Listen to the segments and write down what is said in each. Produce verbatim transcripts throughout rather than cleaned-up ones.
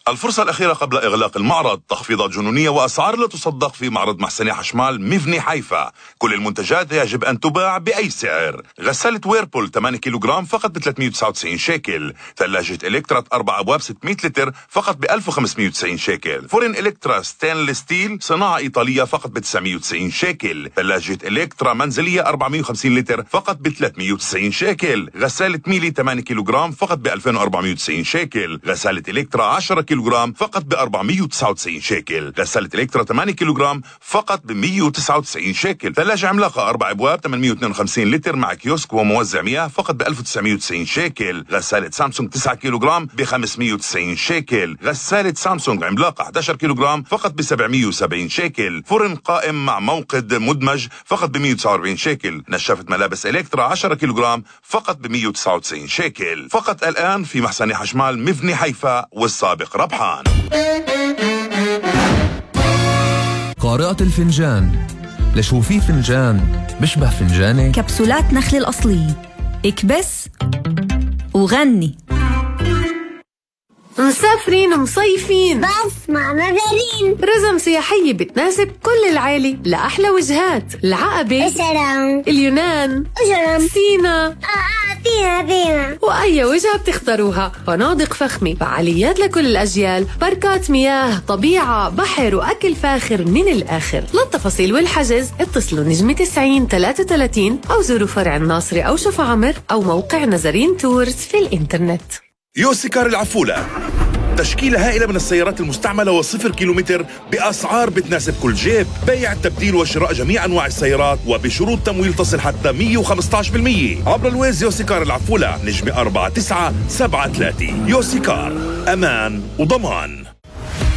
الفرصة الأخيرة قبل إغلاق المعرض، تخفيضات جنونية وأسعار لا تصدق في معرض محسني حشمال مفني حيفا. كل المنتجات يجب أن تباع بأي سعر. غسالة ويربول ثمانية كيلوغرام فقط ب ثلاثمية وتسعة وتسعين شيكل. ثلاجة إلكترا أربع أبواب ستمية لتر فقط ب ألف وخمسمية وتسعين شيكل. فرن إلكترا ستانلس ستيل صناعة إيطالية فقط ب تسعمية وتسعين شيكل. ثلاجة إلكترا منزلية أربعمية وخمسين لتر فقط ب ثلاثمية وتسعين شيكل. غسالة ميلي ثمانية كيلوغرام فقط ب ألفين وأربعمية وتسعين شيكل. غسالة إلكترا عشرة كيلوغرام فقط ب أربعمية وتسعة وتسعين شيكل. غسالة إلكترا ثمانية كيلوغرام فقط ب مية وتسعة وتسعين شيكل. ثلاجة عملاقة أربع أبواب ثمانمية واثنين وخمسين لتر مع كيوسك وموزع مياه فقط ب ألف وتسعمية وتسعين شيكل. غسالة سامسونج تسعة كيلوغرام ب خمسمية وتسعين شيكل. غسالة سامسونج عملاقة إحدى عشر كيلوغرام فقط ب سبعمية وسبعين شيكل. فرن قائم مع موقد مدمج فقط ب مية وتسعة وأربعين شيكل. نشافة ملابس إلكترا عشرة كيلوغرام فقط ب مية وتسعة وتسعين شيكل. فقط الآن في محسن حشمال مفني حيفا، والسابق ربحان. قارئة الفنجان، لشو في فنجان بشبه فنجانك؟ كبسولات نخل الأصلية، اكبس وغني. مسافرين مصيفين بس مع مدارين رزم سياحية بتناسب كل العائلة لأحلى وجهات: العقبة، سلام، اليونان، سلام، سينا، آه آه فينا فينا وأي وجهة بتختاروها. فنادق فخمة، فعاليات لكل الأجيال، باركات مياه، طبيعة، بحر وأكل فاخر من الآخر. للتفاصيل والحجز اتصلوا نجمة تسعين ثلاثة وثلاثين أو زوروا فرع الناصري أو شفا عمر أو موقع نزرين تورز في الإنترنت. يوسيكار العفولة، تشكيلة هائلة من السيارات المستعملة وصفر كيلومتر بأسعار بتناسب كل جيب. بيع، تبديل وشراء جميع أنواع السيارات وبشروط تمويل تصل حتى مية وخمسة عشر بالمية عبر الويز. يوسيكار العفولة، نجمة أربعة تسعة سبعة ثلاثة. يوسيكار، أمان وضمان.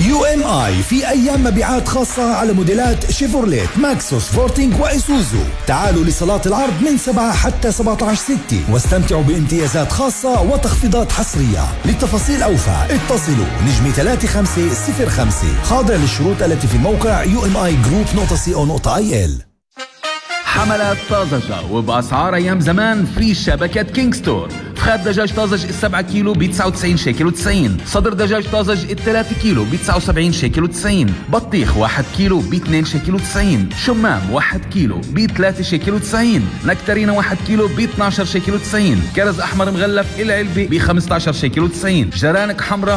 يو ام اي في ايام مبيعات خاصة على موديلات شيفورليت، ماكسوس، فورتينج وايسوزو. تعالوا لصالات العرض من سبعة حتى سبعة عشر ستة واستمتعوا بامتيازات خاصة وتخفيضات حصرية. للتفاصيل اوفى اتصلوا نجمة ثلاثة خمسة صفر خمسة، خاضع للشروط التي في موقع يو ام اي جروب نقطة سي او نقطة اي ال. حملات طازجة وبأسعار أيام زمان في شبكة كينج ستور. فخاد دجاج طازج السبعة كيلو ب تسعة وتسعين شيكل وتسعين. صدر دجاج طازج الثلاثة كيلو ب تسعة وسبعين شيكل وتسعين. بطيخ واحد كيلو ب اثنين شيكل وتسعين. شمام واحد كيلو ب ثلاثة شيكل وتسعين. نكترينا واحد كيلو ب اثناشر شيكل وتسعين. كرز أحمر مغلف العلبة ب خمسة عشر شيكل وتسعين. جرانك حمراء